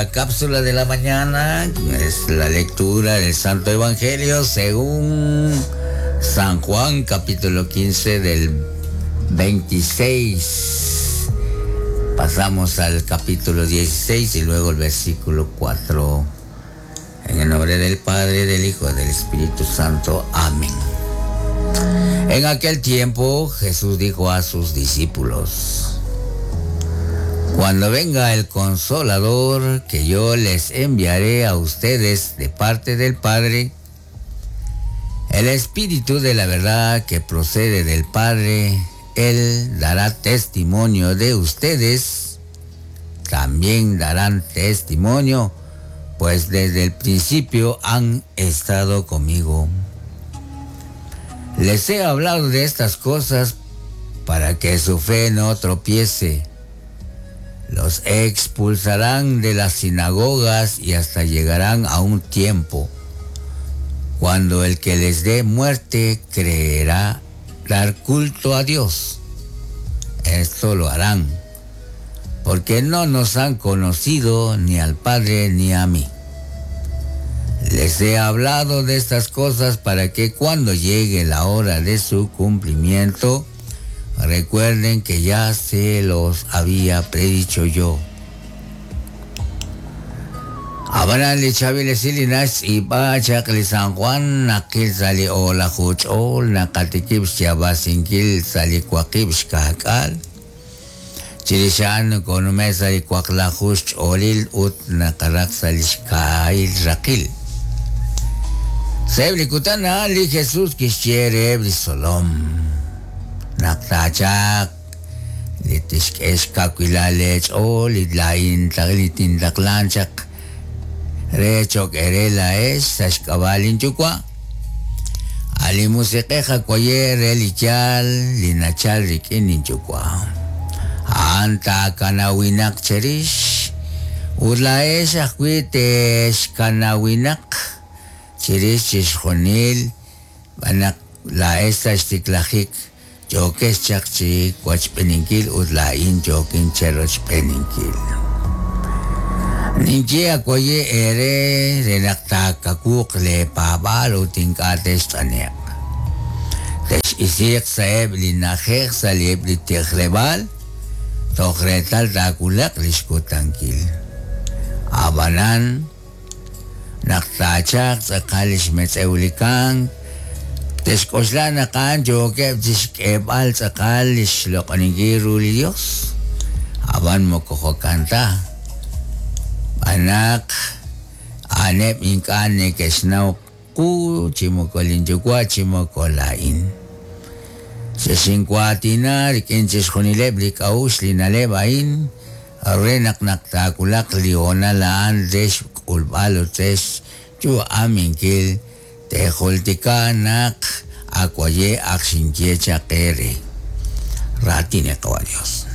La cápsula de la mañana es la lectura del Santo Evangelio según San Juan capítulo 15 del 26. Pasamos al capítulo 16 y luego el versículo 4. En el nombre del Padre, del Hijo y del Espíritu Santo. Amén. En aquel tiempo Jesús dijo a sus discípulos, Cuando venga el consolador que yo les enviaré a ustedes de parte del Padre, el Espíritu de la verdad que procede del Padre, Él dará testimonio de ustedes, también darán testimonio, pues desde el principio han estado conmigo. Les he hablado de estas cosas para que su fe no tropiece. Los expulsarán de las sinagogas y hasta llegarán a un tiempo cuando el que les dé muerte creerá dar culto a Dios. Esto lo harán, porque no nos han conocido ni al Padre ni a mí. Les he hablado de estas cosas para que cuando llegue la hora de su cumplimiento, recuerden que ya se los había predicho yo. Ab'anan li chaab'il esil li naxtz'iib'a chaq li San Juan naqil sa' li o'laju ch'ool naqatikib' xyaab'asinkil sa' li waqib' xka'k'aal. Chirix a'an nokonume' sa' li waqlaju xch'oolil ut naqaraq sa' li xkaahil raqil. Sa'eb' li kutan a'an li Jesús kixye reheb' li xtzolom naq taachalq li tixk'e xkawilal leech'ool li laa'in li tintaqlan chaq re cho'q eere laa'ex sa' xk'ab'a' linYuwa'. A' li Musiq'ej awaye' re li yaal li nachalk rik'in linYuwa'. A'an taakanawinaq cherix ut laa'ex ajwi' texkanawinaq chirix chixjunil xb'aan naq laa'ex sa' xtiklajik yookex chaq chi wachb'eeninkil ut laa'in yookin cherochb'eeninkil. Ninye awaye' eere re naq taakawuuq leepaab'aal ut ink'a' text'ane'q. Tex'isiiq sa'eb' li na'ajej sa' eb' li tijleb'aal toj reetal taawulaq li xkutankil. Ab'anan, Naq taachalq tz'aqal li xmetz'ew li kamk, te'xk'oxla naq a'an yookeb' chi xk'eeb'al tz'aqal li xloq'oninkil ru li Yos. Ab'an moko jo'kan ta, xb'aan naq a'aneb' ink'a' neke'xnaw qu chi moko linyuwa' chi moko laa'in. Xexinwaatina rik'in chixjunileb' li k'a'uxl li na'leb' a'in re naq naq taawulaq li hoonal a'an re xk'ulb'al ut re xyu'aminkil teejultika naq awaye' ak xinye chaq eere. Raatin li Qawa' Yos.